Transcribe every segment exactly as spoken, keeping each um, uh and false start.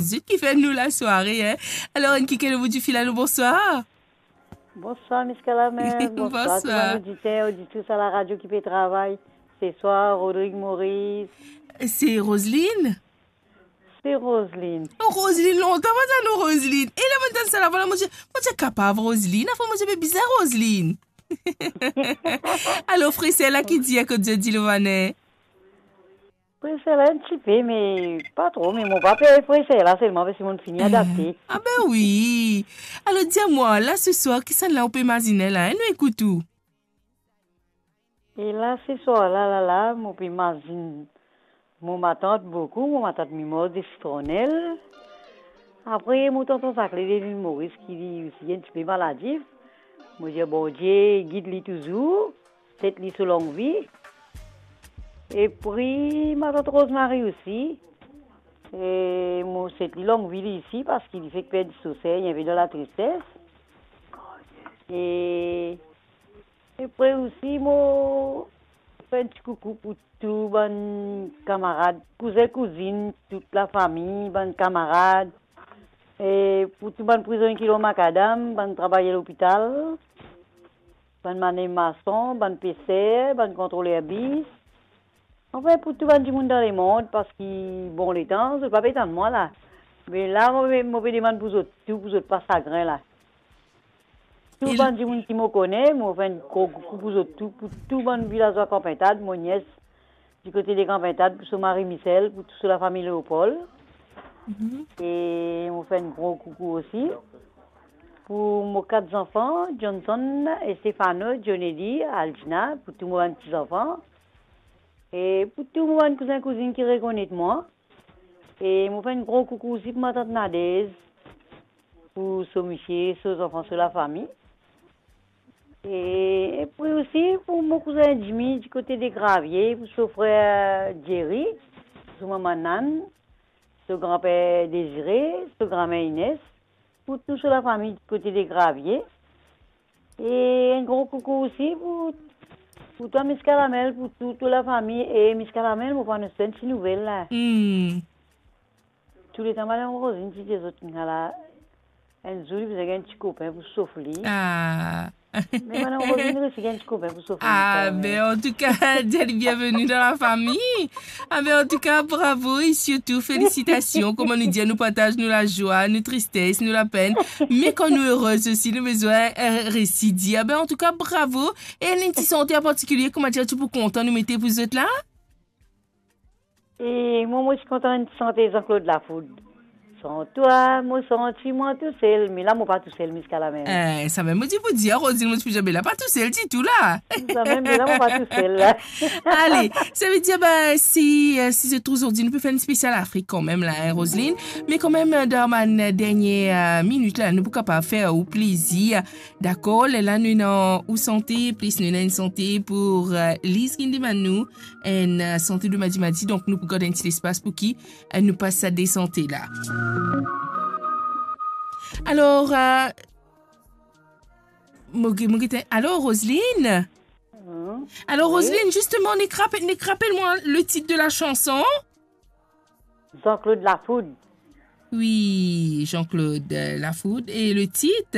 Zot ki fer nou lasware, hein. Alor, enn kikenn obout difil, alo, bonswar. Bonswar, Miss Kalamel. Bonswar, tou bann oditer, oditris a laradio ki pe travay. Se swa, Rodrig Moris. Se Roseline? Se Roseline. Oh, Roseline, lontan mo tann ou, Roseline. E la, mo tann sa lavwa la, mo dir, mo ti kapav Roseline. Afwa, mo ti pe bizin Roseline. Alor, freser la ki dir kot zot Dilovane? Freser la enn tipe, me pa tro, me mo pa per freser la selman, parski mo fini adapte. Ah ben wi. Alor, dir mwa, la, se swar, kisannla ou pe mazinn la, hein, nou ekout ou. E la, se swar la, la, la, mo pe mazinn mo matant boukou, mo matant Mimor de Sitronel. Apre, mo tonton Zakle de Lil Moris, ki li osi enn tipe maladif. Mo dir Bondie gid li touzour, set li so long vi. Epri, matant Rosemary osi. E mo set li long vi li isi, parski li fek perdi so ser, li enpe dan latristes. E, epre osi, mo fer enn ti koukou pou tou bann kamarad, kouzin, kouzinn, tout lafami, bann kamarad, e pou tou bann prizonnie ki lor makadam, bann travayer lopital, bann manev mason, bann peser, bann kontroler bis. Anfin, pou tou bann dimoun dan lemond, parski bon letan, zot pa pe tann mwa la. Me la, mo, mo pe demann pou zot tou, pou zot pa sagrin la. Tou bann dimoun ki mo kone, mo fer enn gro koukou pou zot tou, pou tou bann vilazwa Kanpintad, mo nies di kote de Kanpintad, pou so mari Michel, pou tou so lafami Leopold. Mhm. E mo fer enn gro koukou osi pou mo kat zanfan, Johnson, Estefano, Johnny, Aldina, pou tou mo bann ti zanfan. E pou tou mo bann kouzin, kouzinn ki rekonet mwa. E mo fer enn gro koukou osi pou matant Nadez, pou so misie, so zanfan, so lafami. E, epre osi pou mo kouzin Jimmy, di kote de Gravie, pou so frer Jerry, so mama Nan, so granper Dezire, so granmer Ines, pou tou so lafami di kote de Gravie. E enn gro koukou osi pou, pou twa, Miss Kalamel, pou tou, tou lafami. E Miss Kalamel, mo pou anons enn ti nouvel la. Hmm. Touletan, Madam Rosine ti dir zot, ala, enn zour li bizin gagn ti kopin pou sof li. Ah. Me Madam Rosine resi gagn ti kopin pou sof li, ah, kanmem. Ben, antouka, dir li bienveni dan lafami. Ah ben, antouka, bravo e sirtou felisitasion. Kouma nou dir, nou partaz nou lazwa, nou tristes, nou lapenn. Me kan nou erez osi, nou bizin, eh, resi dir. Ah ben, antouka, bravo. E enn ti sante an partikilie, kouma dir, ti pou kontan nou mete pou zot la? E mwa, mo ti kontan enn ti sante Jean-Claude Lafoud. San twa, mo santi mwa tousel. Me la, mo pa tousel, Miss Kalamel. Eh, samem mo ti pou dir, Rosine, mo ti pou dir, be la pa tousel ditou la. Samem, me la, mo pa tousel la. Ale, sa ve dir, ben, si, eh, si se trouv zordi, nou pe fer enn spesial Afrik kanmem la, hein, Roseline. Me kanmem, eh, dan bann dernie, eh, minit la, nou pou kapav fer ou plezir. Dakor, lerla nou ena ou sante, plis nou ena enn sante pou, eh, Liz ki demann nou, enn, eh, sante de Madi Madi, donk nou pou gard enn ti lespas pou ki, eh, nou pas sa de sante la. Alor, eh, mo ge-, mo gete, alor, Roseline? Mhm. Alor, wi. Roseline, zisteman, nek rapel, nek rapel mwa le tit de la chanson? Jean-Claude Lafoud. Wi, Jean-Claude, eh, Lafoud. E le tit?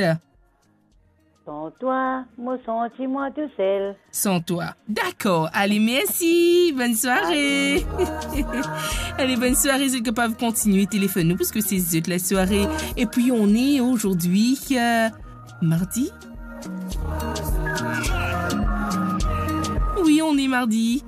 San twa, mo santi mwa tousel. San twa. Dakor. Ale, mersi. Bonn sware. Ale, bonn sware. Ale, bonn sware. Zot kapav kontigne telefonn nou, parski se zot lasware. Et puis, on est aujourd'hui, euh, mardi? Oui, on est mardi.